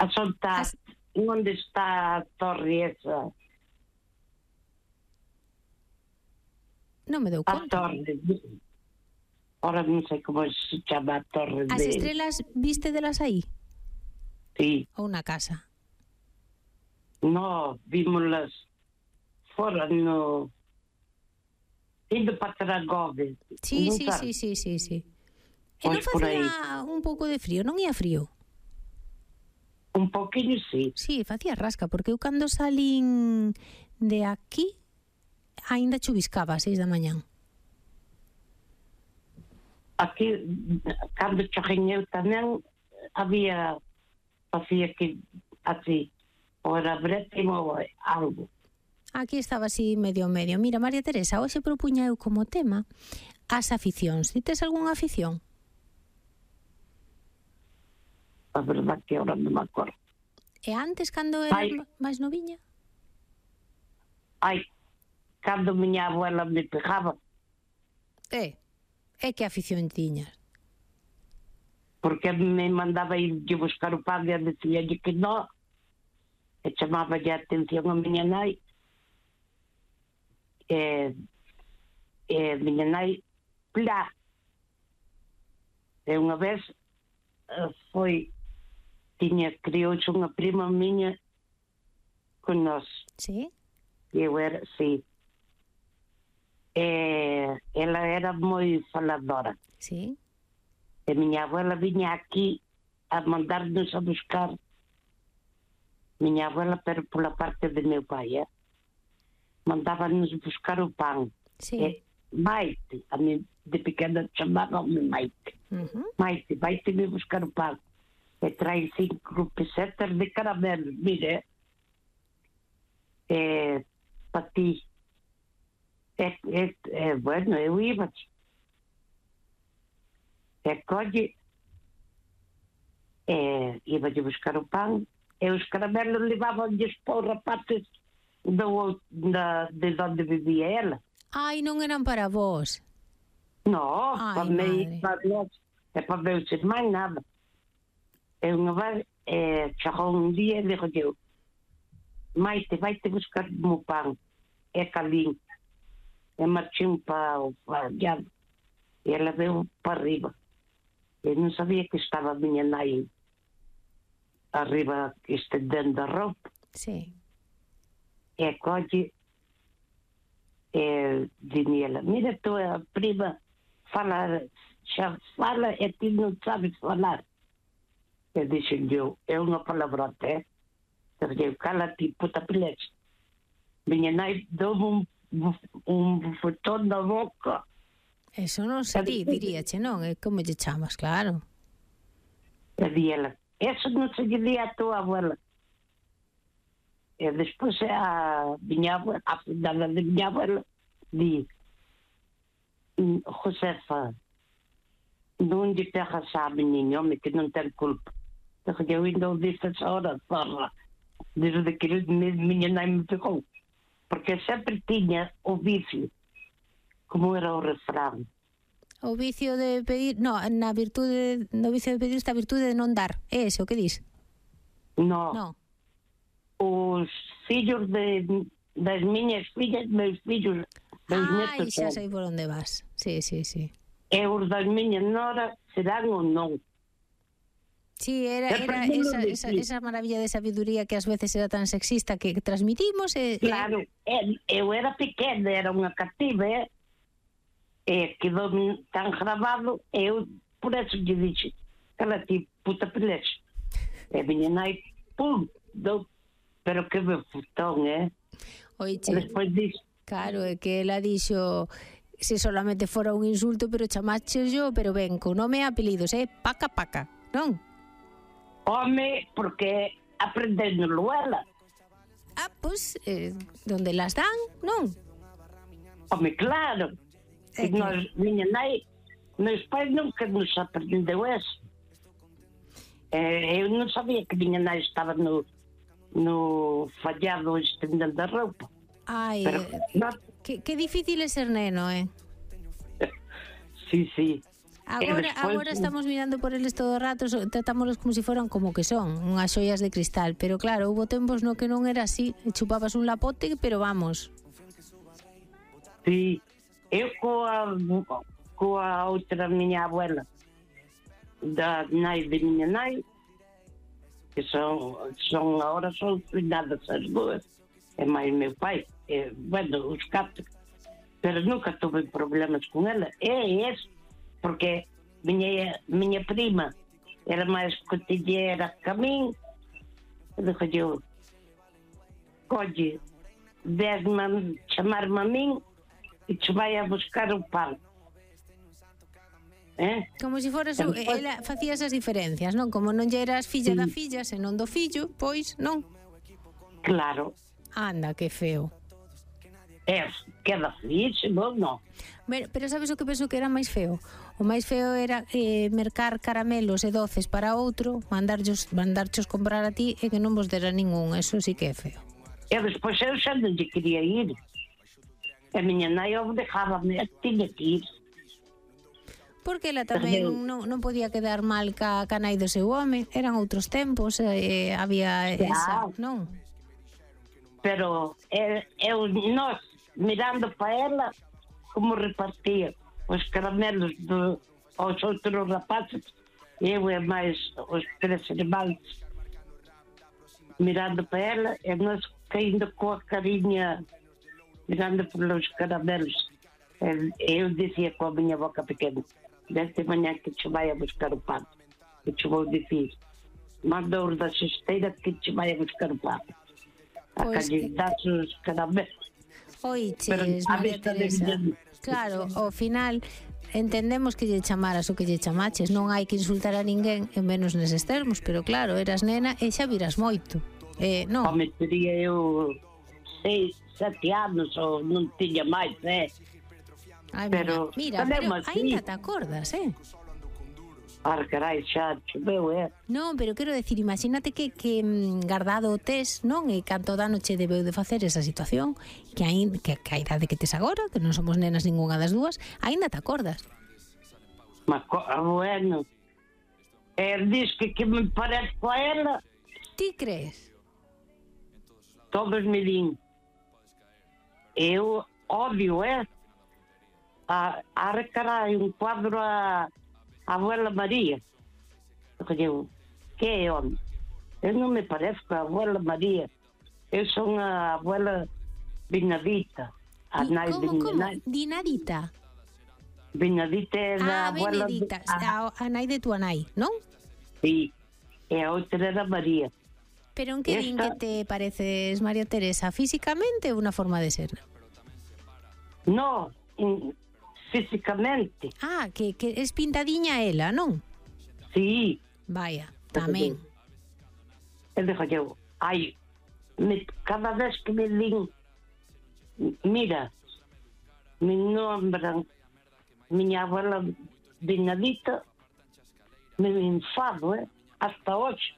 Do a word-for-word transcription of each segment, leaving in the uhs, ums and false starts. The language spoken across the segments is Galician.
A soltar. As... Onde está a torre esa? Non me dou A conta. torre. Ahora non sei como se chama a torre. As de... estrelas viste delas aí? Sí. Ou na casa? No, vímolas fora no... Indo para Tragove. Sí, sí, sí, sí, sí, sí. E non facía un pouco de frío, non ia frío? Un poquinho, sí. Sí, facía rasca, porque eu cando salín de aquí aínda chuviscaba a seis da mañán. Aquí, cando chorriñeu tamén, había, facía que así, ou era brétimo ou algo. Aquí estaba así medio medio. Mira, María Teresa, hoxe propuña eu como tema as aficións. Ti tes algunha afición? A verdade que agora non me acordo. E antes, cando eras Ai. máis noviña? Ai, cando miña abuela me pegaba, É, é que afición tiñas? porque me mandaba ir de buscar o pan e decía que non, e chamaba a atención a miña nai, e, e miña nai, plá. E unha vez foi, tiña, criouse unha prima miña con nós. Sí? Eu era, sí. E ela era moi faladora. Sí. E miña abuela viña aquí a mandarnos a buscar. Miña abuela, pero pola parte de meu pai, eh? Mandábanos buscar o pan. Sí. E Maite, a mí de pequena chamaba-me Maite. Uh-huh. Maite, vai-te me buscar o pan. E trai cinco pesetas de caramelos, mire. E para ti. E, e, e, bueno, eu iba. E colle, e iba de buscar o pan, e os caramelos levavam-lhes para os rapazes do, da, de onde vivia ela. Ai, non eran para vós. No, Ai, para mim, madre. para nós, e para meus irmãos, nada. E unha vez, e, chegou un día e dixo eu, Maite, vai-te buscar o meu pan, é calín. E marchei para o allá, e ela veio para arriba. Eu non sabía que estaba a miña nai arriba estendendo a roupa. Sí. E colle, e dime ela, mira tu a prima fala, xa fala e ti non sabes falar. E dixen eu, é unha palabrota, eh? Eu, cala-te, puta pilete. Miña nai dou un, un bufetón na boca. Eso non se di, diríache, non? É como lle chamas, claro. E di ela, eso non se lle di a tua abuela. E despois a miña abuela, a filhada de miña abuela, di, Josefa, non lle pegas a meniño, home, que non ten culpa. Eu ainda o disse essa hora, zorra, desde que miña nai me pegou. Porque sempre tiña o vicio, como era o refrán. O vicio de pedir, no, na virtude, no vicio de pedir está a virtude de non dar. É ese o que dis? No. No. Os fillos de, das miñas fillas, meus fillos, meus Ai, netos, xa sei por onde vas. Sí, sí, sí. e os das miñas noras serán ou non. Sí, era, era esa, esa, esa maravilla de sabiduría que ás veces era tan sexista que transmitimos. E, claro, e, eu era pequena, era unha cativa, eh? E quedou tan grabado, e eu por eso lle dixe, cala ti, puta pelexe. E miña nai, pum, dou, pero que me futón, eh? Oiche, e despois dixo, claro, é que ela dixo, se solamente fora un insulto, pero chamaches yo, pero ben, con nome e apelidos, eh? Paca, paca, non? home, porque aprendéndolo ela. Ah, pois, eh, donde las dan, non? Home, claro. É E que... nós, miña nai, meus pais nunca nos aprendeu eso. Eh, eu non sabía que miña nai estaba no, no fallado estendendo a roupa. Ai, Pero, no, que, que difícil é ser neno, eh? sí, sí. Agora, despois- agora estamos mirando por eles todo o rato, so- tratámolos como se si foran como que son, unhas xoias de cristal, pero claro, houve tempos no que non era así, e chupabas un lapote, pero vamos. Sí, eu coa, coa outra miña abuela, da nai de miña nai, que son, son agora son cuidadas as duas, e máis meu pai, e, bueno, os catro, pero nunca tuve problemas con ela, e es, porque miña, miña prima era máis cotillera que a min, e dixo eu, colle, desme chamarme a min, e te vai a buscar o pan. Eh? Como se foras, u- Despois- ela facía esas diferencias, non? Como non lle eras filla Sí. da filla, senón do fillo, pois non. Claro, Anda, que feo. é, queda feísimo, non? Pero, pero sabes o que penso que era máis feo? O máis feo era eh, mercar caramelos e doces para outro, mandarchos, mandarchos comprar a ti e que non vos dera ningún, eso sí que é feo. E despois eu xa non lle quería ir. A miña nai o dejábame, tiña que ir. Porque ela tamén non, non podía quedar mal ca, ca nai do seu home, eran outros tempos, eh, había esa, non? Pero eh, eu, nós, mirando para ela, como repartía os caramelos do, aos outros rapazes, eu e máis os tres irmáns, mirando para ela, e nós caindo coa carinha, mirando pelos caramelos. E eu dizia com a minha boca pequena, desta manhã que te vai a buscar o pão, que te vou dizer, manda-os da cesteira que te vai a buscar o pão. A Pois, calidade os caramelos. Oiches, Pero a María vista de Teresa. Guillermo. Claro, ao final entendemos que lle chamaras o que lle chamaches, non hai que insultar a ninguén, en menos neses termos, pero claro, eras nena e xa viras moito. Eh, non? Home, teria eu seis, sete anos ou non tiña máis, eh? Ai, pero- mira, tamén pero máis, sí. ainda te acordas, eh? Ah, carai, xa choveu, eh? Non, pero quero decir, imagínate que, que mm, guardado o tes, non? E canto dano che debeu de facer esa situación, que, ain, que, que a idade que tes agora, que non somos nenas ningunha das dúas, aínda te acordas. Mas, co- ah, bueno, eh, diz que, que me parezco a ela, Ti crees? todos me din. Eu odio, eh? A, a recarai un cuadro a, a abuela María. Eu, que é onde? Eu non me parezco a abuela María. Eu son a abuela Benedita. A Di- nai de como, minha como? nai. Dinadita. Benedita é da Ah, abuela... Benedita, De, a, a, a nai de tua nai, non? sí. E a outra era María. Pero en que din que Esta- te pareces, María Teresa, físicamente ou unha forma de ser? No, in- físicamente. Ah, que, que es pintadiña ela, non? Sí. Vaya, tamén. E dixo eu, ai, me, cada vez que me din, mira, me nombran miña abuela Benedita, me enfado, eh, hasta hoxe.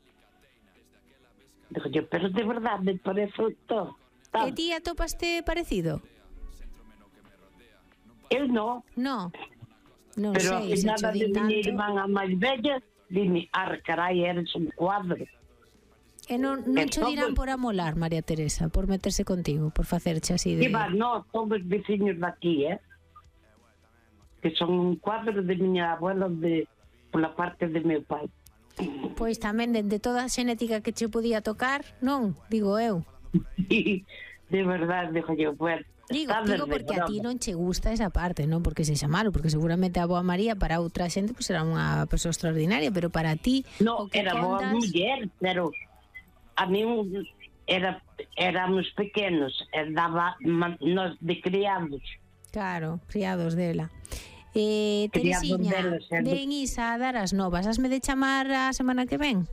Dixo eu, pero de verdade me parece todo. E ti atopaste parecido? Eu non, No, non pero sei, a se cho nada de din miña tanto. irmán a máis bella, dime, ar, carai, eres un cuadro. E non, non E cho dirán todo- por amolar, María Teresa, por meterse contigo, por facerche así de... E va, no, todos veciños daqui, eh? Que son un cuadro de miña abuela de, pola parte de meu pai. Pois tamén, de, de toda a xenética que che podía tocar, non, digo eu. De verdade, dixo eu, bueno, Digo, está digo desde porque a ti broma. non che gusta esa parte, non porque sexa malo, porque seguramente a boa María para outra xente pues, era unha persoa extraordinaria, pero para ti o No, que era boa contas... muller, pero a mí era, éramos pequenos, e daba ma- nos de criados. Claro, criados dela. Eh, Criados Teresiña, deles, eh. ven Isa a dar as novas. Hasme de chamar a semana que ven?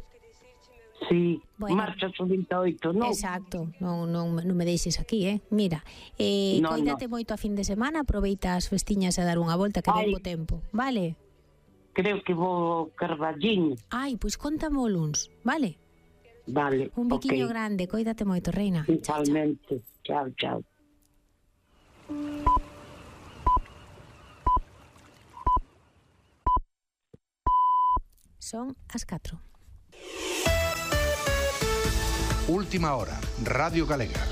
Sí, Bueno. marcha o vinte e oito, non? Exacto, non, non, non me deixes aquí, eh? Mira, eh, No, coídate moito a fin de semana, aproveita as festiñas a dar unha volta que Ai. den bo tempo, vale? Creo que vou ao Carballiño. Ai, pois contame o luns, vale? Vale, Un biquiño ok. grande, coídate moito, reina. Chao, chao. Igualmente. Chao, chao. Son as catro. Última hora, Radio Galega.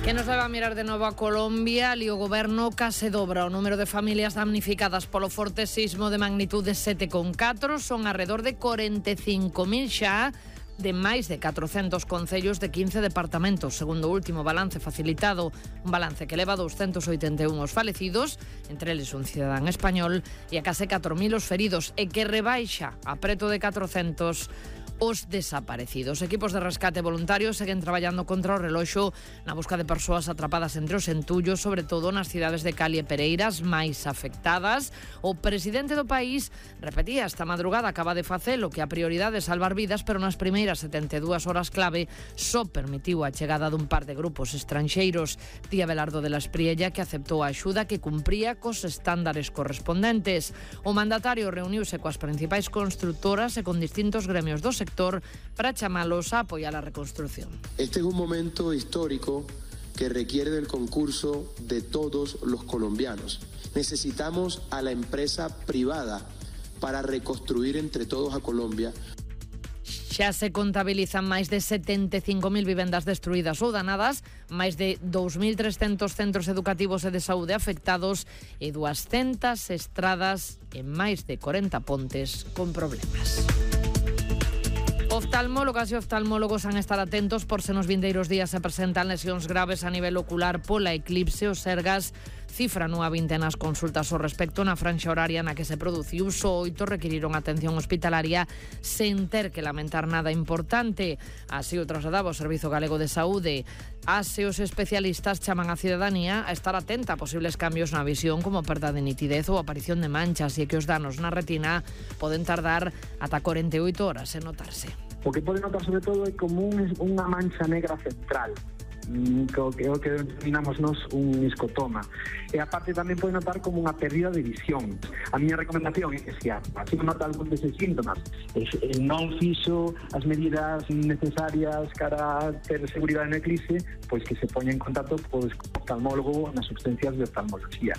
Que nos leva a mirar de novo a Colombia. Ali o goberno case dobra o número de familias damnificadas polo forte sismo de magnitude sete coma catro. Son alrededor de corenta e cinco mil xa, de máis de catrocentos concellos de quince departamentos, segundo o último balance facilitado, un balance que leva doscientos oitenta e un os falecidos, entre eles un cidadán español, e a case catro mil os feridos, e que rebaixa a preto de catrocentos os desaparecidos. Equipos de rescate voluntarios seguen traballando contra o reloxo na busca de persoas atrapadas entre os entullos, sobre todo nas cidades de Cali e Pereiras máis afectadas. O presidente do país repetía esta madrugada, acaba de facelo, que a prioridade é salvar vidas, pero nas primeiras setenta e dúas horas clave só permitiu a chegada dun par de grupos estranxeiros. Di Abelardo de la Espriella que aceptou a axuda que cumpría cos estándares correspondentes. O mandatario reuniuse coas principais constructoras e con distintos gremios do sector para chamalos a apoyar la reconstrucción. Este es un momento histórico que requiere del concurso de todos los colombianos. Necesitamos a la empresa privada para reconstruir entre todos a Colombia. Xa se contabilizan máis de setenta e cinco mil vivendas destruídas ou danadas, máis de dous mil trescentos centros educativos e de saúde afectados e duascentas estradas e máis de corenta pontes con problemas. Oftalmólogas e oftalmólogos han estar atentos por se nos vindeiros días se presentan lesións graves a nivel ocular pola eclipse. Os Sergas cifran unha vintena as consultas ao respecto na franxa horaria na que se produciu. Só oito requiriron atención hospitalaria sen ter que lamentar nada importante. Así o trasladaba o Servizo Galego de Saúde. As e os especialistas chaman a cidadanía a estar atenta a posibles cambios na visión, como perda de nitidez ou aparición de manchas, e que os danos na retina poden tardar ata corenta e oito horas en notarse. O que pode notar sobre todo é como un, unha mancha negra central, que o que, o que denominamos nos un escotoma. E aparte tamén pode notar como unha pérdida de visión. A miña recomendación é que se así nota algún deses síntomas, e non fixo as medidas necesarias para ter seguridade no eclipse, pois que se poña en contacto co oftalmólogo nas substancias de oftalmología.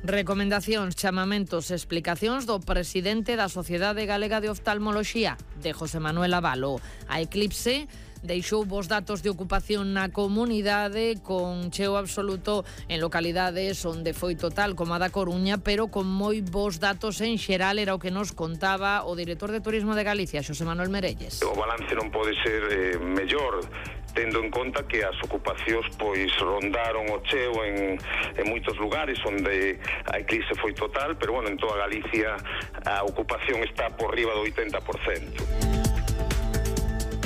Recomendacións, chamamentos e explicacións do presidente da Sociedade Galega de Oftalmoloxía, de José Manuel Avalo. A eclipse deixou vos datos de ocupación na comunidade con cheo absoluto en localidades onde foi total, como a da Coruña, pero con moi vos datos en xeral. Era o que nos contaba o director de Turismo de Galicia, Xosé Manuel Merelles. O balance non pode ser eh, mellor, tendo en conta que as ocupacións pois rondaron o cheo en, en moitos lugares onde a eclipse foi total, pero bueno, en toda Galicia a ocupación está por riba do oitenta por cento.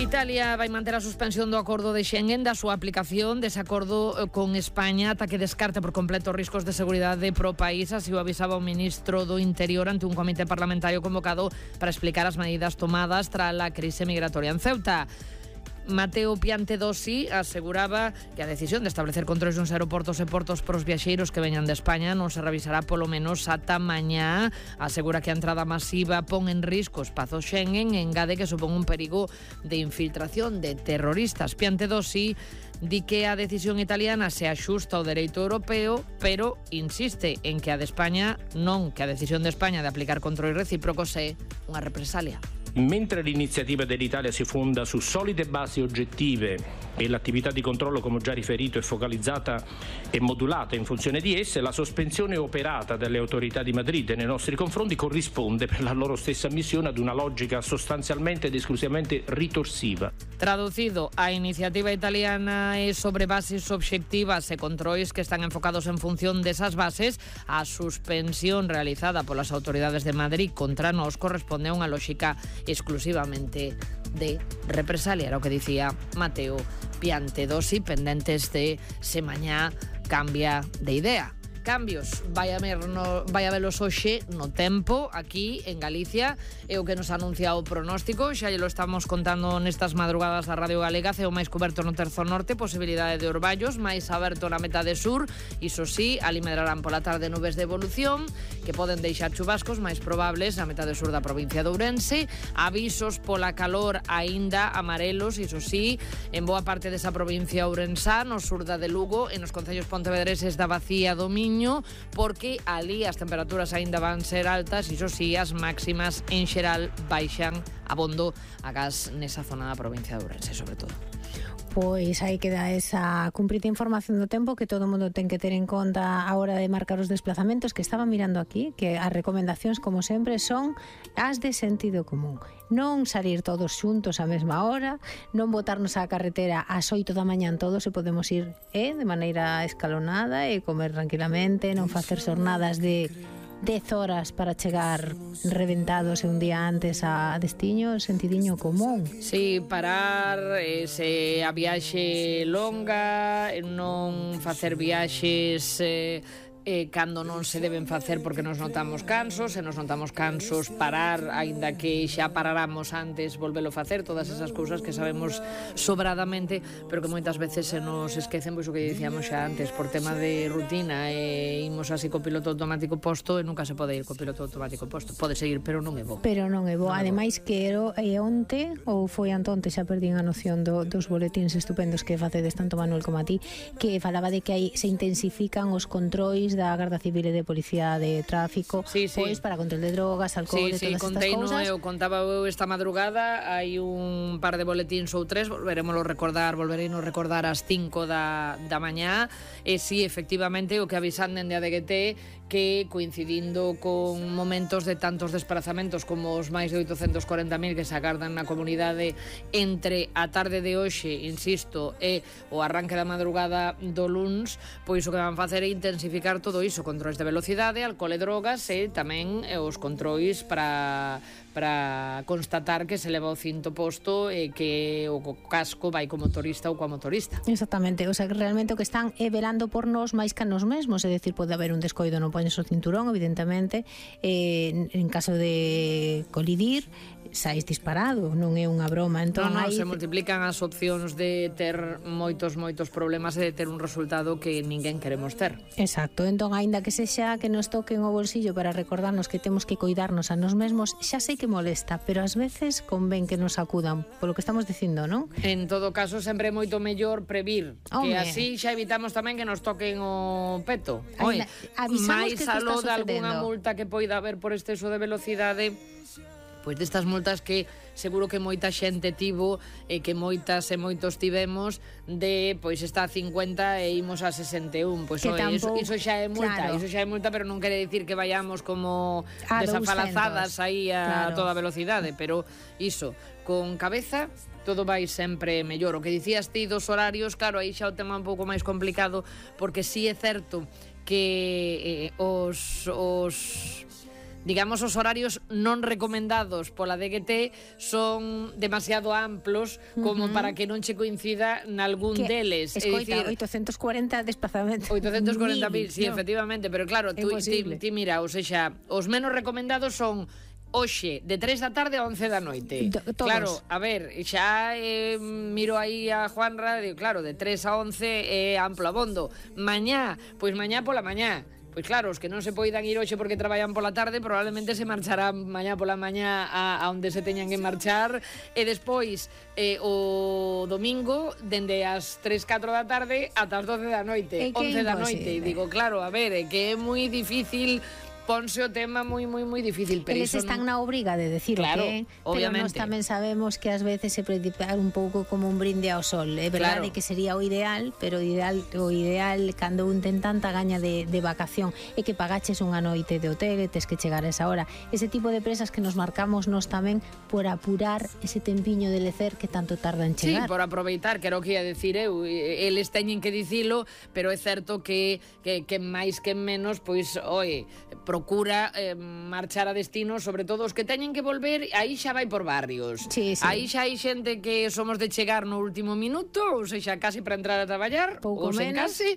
Italia vai manter a suspensión do acordo de Schengen, da súa aplicación, dese acordo con España, ata que descarte por completo riscos de seguridade pro país. Así o avisaba o ministro do Interior ante un comité parlamentario convocado para explicar as medidas tomadas tras a crise migratoria en Ceuta. Mateo Piantedosi aseguraba que a decisión de establecer controles nos aeroportos e portos para os viaxeiros que veñan de España non se revisará polo menos ata mañá. Asegura que a entrada masiva pon en risco o espazo Schengen e engade que supón un perigo de infiltración de terroristas. Piantedosi di que a decisión italiana se axusta ao dereito europeo, pero insiste en que a de España non, que a decisión de España de aplicar controles recíprocos é unha represalia. Mentre l'iniziativa dell'Italia si fonda su solide basi oggettive e l'attività di controllo, come ho già riferito, è focalizzata e modulata in funzione di esse, la sospensione operata dalle autorità di Madrid nei nostri confronti corrisponde per la loro stessa missione ad una logica sostanzialmente ed esclusivamente ritorsiva. Traducido, a iniciativa italiana é sobre bases obxectivas e controis que están enfocados en función desas bases. A suspensión realizada polas autoridades de Madrid contra nós corresponde a unha lógica exclusivamente de represalia, era o que dicía Mateo Piantedosi, pendentes de se mañá cambia de idea. Cambios, vai haber no, vai habelos hoxe no tempo aquí en Galicia, é o que nos anuncia o pronóstico. Xa lo estamos contando nestas madrugadas da Radio Galega. Ceo máis coberto no terzo norte, posibilidade de orballos, máis aberto na metade sur. Iso sí, ali medrarán pola tarde nubes de evolución que poden deixar chubascos máis probables na metade sur da provincia de Ourense. Avisos pola calor aínda amarelos, iso sí, en boa parte desa provincia ourensá, no sur da de Lugo, en os concellos pontevedreses da Bacía do Miño, Miño, porque ali as temperaturas aínda van ser altas, iso si, as máximas en xeral baixan abondo agás nesa zona da provincia de Ourense, sobre todo. Pois aí queda esa cumprida información do tempo que todo o mundo ten que ter en conta a hora de marcar os desplazamentos, que estaba mirando aquí, que as recomendacións, como sempre, son as de sentido común. Non salir todos xuntos á mesma hora, non botarnos á carretera ás oito da mañán todos, e podemos ir eh, de maneira escalonada e comer tranquilamente, non facer xornadas de dez horas para chegar reventados e un día antes a destiño, sentidiño común. Si, parar, eh, se a viaxe longa, non facer viaxes eh, eh, cando non se deben facer porque nos notamos cansos, se nos notamos cansos, parar, aínda que xa paráramos antes, volvelo facer, todas esas cousas que sabemos sobradamente, pero que moitas veces se nos esquecen, pois o que dicíamos xa antes, por tema de rutina, e imos así co piloto automático posto, e nunca se pode ir co piloto automático posto. Pode seguir, pero non é bo. Pero non é bo. Ademais que era e onte, ou foi antonte, xa perdín a noción do, dos boletins estupendos que facedes tanto Manuel como a ti, que falaba de que aí se intensifican os controis da Garda Civil e de Policía de Tráfico, sí, sí. pois para control de drogas, alcohol, sí, e sí, todas estas cousas. Eu contaba eu esta madrugada, hai un par de boletíns ou tres, volveremoslo recordar, volvereinos recordar ás cinco da, da mañá, e si, sí, efectivamente, o que avisan dende a D G T, que coincidindo con momentos de tantos desplazamentos como os máis de oitocentos corenta mil que se agardan na comunidade entre a tarde de hoxe, insisto, e o arranque da madrugada do luns, pois o que van facer é intensificar todo iso, controis de velocidade, alcohol e drogas, e tamén os controis para para constatar que se leva o cinto posto e que o casco vai co motorista ou coa motorista. Exactamente, o sea, que realmente o que están é velando por nós máis que a nos mesmos, é dicir, pode haber un descoido, non poñes o cinturón, evidentemente, eh, en caso de colidir, sais disparado, non é unha broma. Entón, non, non, aí se multiplican as opcións de ter moitos, moitos problemas e de ter un resultado que ninguén queremos ter. Exacto, entón, aínda que sexa que nos toquen o bolsillo para recordarnos que temos que cuidarnos a nos mesmos, xa sei que molesta, pero ás veces convén que nos acudan, polo que estamos dicindo, non? En todo caso, sempre é moito mellor previr, Home. que así xa evitamos tamén que nos toquen o peto. Oi, avisamos máis que aló está de algunha sucedendo. multa que poida haber por exceso de velocidade, pois destas multas que seguro que moita xente tivo e que moitas e moitos tivemos de, pois está a cincuenta e imos a sesenta e un, pois oi, iso, iso xa é multa, claro. iso xa é multa, pero non quere dicir que vayamos como a desafalazadas aí a claro. toda velocidade, pero iso, con cabeza todo vai sempre mellor. O que dicías ti dos horarios, claro, aí xa o tema un pouco máis complicado, porque si é certo que eh, os os digamos, os horarios non recomendados pola D G T son demasiado amplos como uh -huh. para que non che coincida nalgún que, deles. Escoita, é dicir, oitocentos corenta desplazamentos. oitocentos corenta mil, sí, no. efectivamente, pero claro, tú, ti, ti mira, ou seja, os menos recomendados son hoxe, de tres da tarde a once da noite. Todos. Claro, a ver, xa eh, miro aí a Juanra, digo, claro, de tres a once é eh, amplo abondo. Mañá, pois mañá pola mañá. Pois claro, os que non se poidan ir hoxe porque traballan pola tarde probablemente se marcharán mañá pola mañá a, a onde se teñan que marchar, e despois eh, o domingo dende as tres, catro da tarde ata as doce da noite, once da noite, e digo, claro, a ver, é que é moi difícil, ponse o tema moi, moi, moi difícil. Pero eles están non... na obriga de decir claro, que, obviamente. Pero nós tamén sabemos que ás veces se predicar un pouco como un brinde ao sol. É verdade claro. que sería o ideal, pero o ideal, o ideal cando un ten tanta gaña de, de vacación é que pagaches unha noite de hotel e tes que chegar a esa hora. Ese tipo de presas que nos marcamos nós tamén por apurar ese tempiño de lecer que tanto tarda en chegar. Sí, por aproveitar, que era o que ia decir eu. Eles teñen que dicilo, pero é certo que, que, que máis que menos, pois, oi, procura eh, marchar a destino, sobre todo os que teñen que volver, aí xa vai por barrios. Sí, sí. Aí xa hai xente que somos de chegar no último minuto, ou seja, casi para entrar a traballar, pouco ou sen menos. casi,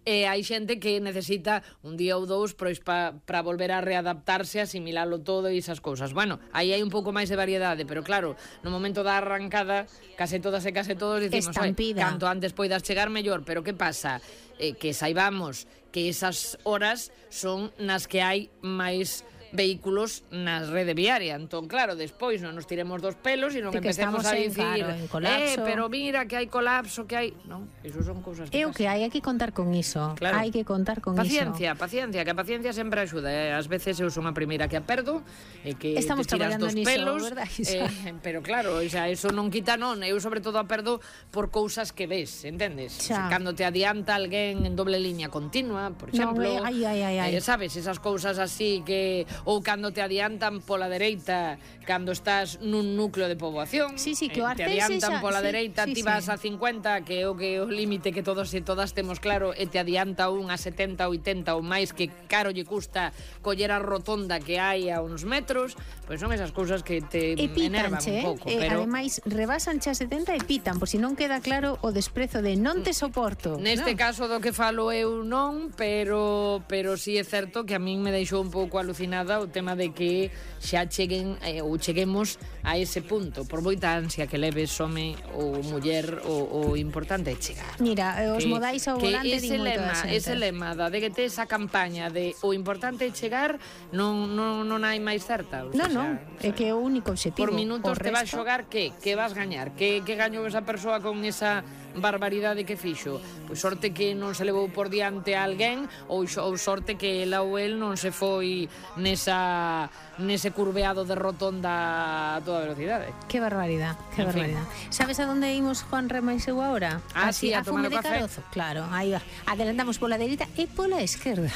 e hai xente que necesita un día ou dous pois para pa volver a readaptarse, asimilalo todo e esas cousas. Bueno, aí hai un pouco máis de variedade, pero claro, no momento da arrancada, case todas e case todos dicimos, canto antes poidas chegar mellor, pero que pasa? Eh, que saibamos que esas horas son nas que hai máis vehículos na rede viaria. Entón, claro, despois non nos tiremos dos pelos e non De que empecemos a estamos en, dicir claro, en colapso. eh, pero mira que hai colapso, que hai... Non, iso son cousas que É o que hai, hai que contar con iso. Claro. Hai que contar con Paciencia, iso. paciencia, que a paciencia sempre axuda. Eh? Ás veces eu son a primeira que a perdo e que Estamos te tiras traballando dos niso, pelos, verdad, Isa? eh, pero claro, o sea, eso non quita non. Eu sobre todo a perdo por cousas que ves, entendes? Xa. Cando te adianta alguén en doble línea continua, por exemplo, Non, eh, ai, ai, ai, ai. Eh, sabes, esas cousas así que ou cando te adiantan pola dereita cando estás nun núcleo de poboación. Sí, sí, que o eh, te Artés adiantan esa- pola sí, dereita, sí, ti sí. vas a cincuenta, que é o que o límite que todos e todas temos claro, e te adianta un a setenta, oitenta ou máis, que caro lle custa coller a rotonda que hai a uns metros, pois son esas cousas que te E enervan pitanche, un pouco, eh? pero Ademais, rebasan xa setenta e pitan, por si non queda claro o desprezo de non te soporto. neste non? caso do que falo eu non, pero pero si sí é certo que a min me deixou un pouco alucinada o tema de que xa cheguen eh, ou cheguemos a ese punto, por moita ansia que leves home ou muller, o, o importante é chegar. Mira, eh, os Que- modais ao que volante ese din moito lema, da xente. ese lema da de que te esa campaña de o importante é chegar non, non, non hai máis certa. O Non, sea, non, é que é o único objetivo. por minutos O te vas resto- xogar que que vas gañar, que que gañou esa persoa con esa barbaridade que fixo. Pois sorte que non se levou por diante a alguén ou, xo- ou sorte que ela ou el non se foi nesa nese curveado de rotonda a toda velocidade. Qué barbaridad, qué En fin. barbaridad. ¿Sabes a dónde imos Juan Rema y eu ahora? Ah, sí, a tomar Fume o de café. Carozo. Claro, aí va. Adelantamos pola dereita e pola esquerda.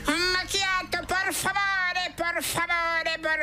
Un macchiato, por favore, por favore, por